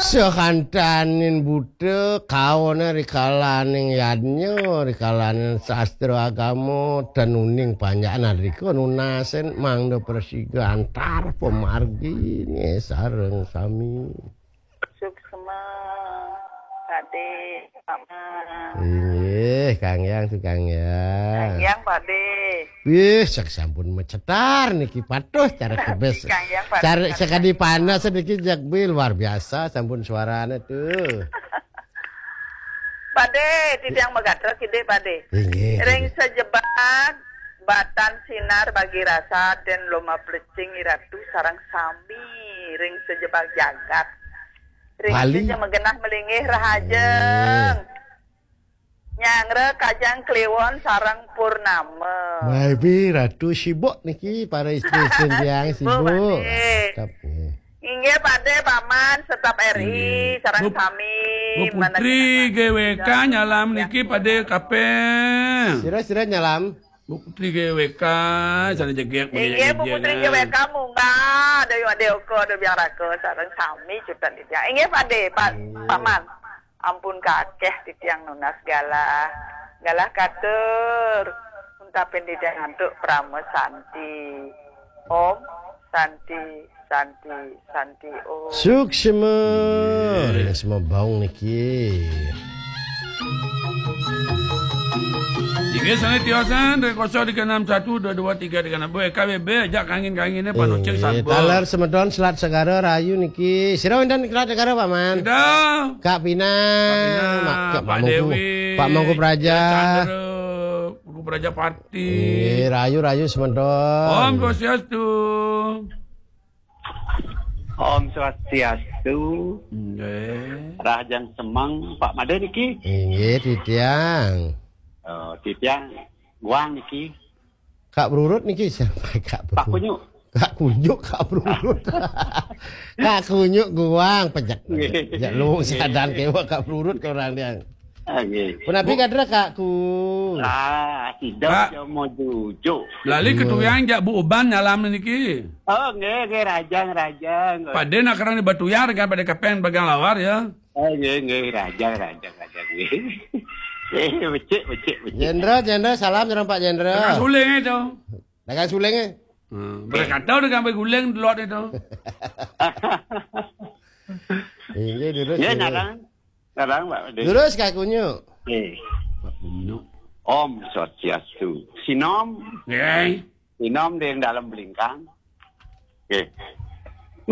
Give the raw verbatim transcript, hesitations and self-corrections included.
Sakantaning buta kaona rikalaning yadnya, rikalaning sastra agama, tenuning panjakan adrika nunasin mangda prasiga antar pamargine sareng sami. Suksma, Pakde, Paman. Inggih, Kang Yang, Kang Yang. Kang Yang, Pakde. Wih, sak sampun macetar niki patuh cara kebes. Kang Yang, Pakde. Cara sekadi panas niki jagbe luar biasa sampun suarane tuh. Pakde, titiang magatra kidi, Pakde. Inggih, ring inggih. Sajebag batan sinar bagi rasa den loma plecing iratu sareng sami ring sajebag jagat. Ring Bali. Sija magenah malinggih rahajeng. Inggih. Nyanggra Kajang Kliwon sareng Purnama. Maibi Ratu sibuk niki, para istri-istri tiang sibuk, sibuk. Pakde. Mantap, nggih. Inggih, Pakde, Paman, setap R I, inggih. Sareng Bu, sami, Bu Putri G W K nyalam niki, Pakde, kaping. Sira-sira nyalam. Bu Putri G W K, sana jegek, inggih, Bu Putri G W K, munggah, Dayu Ade Oko, Dayu Biang Raka, sareng sami cutet titiang. Inggih, Pakde, Pak, inggih. Paman. Ampun kakeh titiang nunas galah. Galah katur. Untapin titiang antuk parama santi. Om Santi, Santi, Santi, Om. Suksma. Inggih. Ring sema baung niki. Inggih, sane tiosan, ring kosong tiga enam satu dua dua tiga tiga enam. Boy, K B B, ajak kangin-kangine, Pak Nocek, inggih, Sabun. Taler semedon Selat Segara Rayu niki. Sira wenten Selat Segara, Paman? Sira. Kak Pinang, Kak Pinang, Mak-, Kak Pak Mangku, Dewi, Pak Mangku Praja. Chandra, Mangku Praja Pati. Eh, rayu, rayu, semedon. Om Swastiastu. Om Swastiastu. Nggih. Rahajeng semeng, Pak Made niki. Inggih, titiang. Oh, titiang Guang niki. Kak Brurut niki siapa? Kak Brurut. Pak Kunyuk. Kak Kunyuk, Kak Brurut. Kak Kunyuk Guang, pejak. Nggih. Ya, lu sadan kewa Kak Brurut ke orang dia. Ah, nggih. Punapi Bu- kadra, Kak Ku? Ah, sida Kak. Cuma jujuk. Lali, hmm, ketuyang jak Bu Uban nyalam niki. Oh, nggih, nggih, rahajeng, rahajeng. Pakde nak kerang di Batuyar kan, Pakde kaping bagang lawar ya. Oh, nggih, nggih, rahajeng, rahajeng, rahajeng, nggih. Eh, becik, becik, becik. Jenderal, Jenderal, salam sareng Pak Jenderal. Dagang suling itu. Dagang suling, eh? Hmm, berkata udah sampai guling delok itu. Inggih, terus, nggih, terus. Narang. Narang, Pak Pakde. Terus, Kak Kunyuk. Eh. Pak Kunyuk. Om Swastiastu. Sinom. Nggih. Sinom di dalam belingkang. Nggih.